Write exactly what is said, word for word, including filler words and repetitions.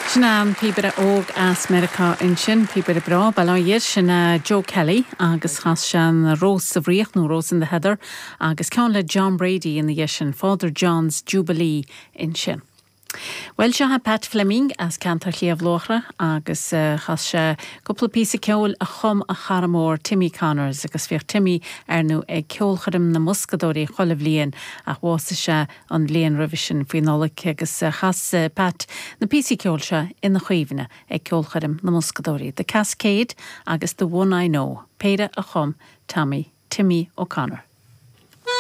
Sin an píobaire óg as Meiriceá ansin píobaire breá bail sin Joe Kelly agus chas sé an Rós sa bhFraoch nó Rose in the Heather agus ceann le John Brady ina dhiaidh sin Father John's Jubilee ansin. Well seo Pat Fleming as ceantar Shliabh Luachra agus uh, chas sé cúpla píosa ceoil a chum a chara mór Timmy Connors agus bhíodh Timmy ar ndóigh ag ceolchoirm na mBoscadóirí chuile bhliain ach bhásaigh sé an bhliain roimhe sin faoi Nollaig agus uh, chas uh, Pat na píosaí ceoil seo ina chuimhne ag ceolchoirm na mBoscadóirí. The Cascade agus The One I Know, péire a chum Tommy Timmy O'Connor.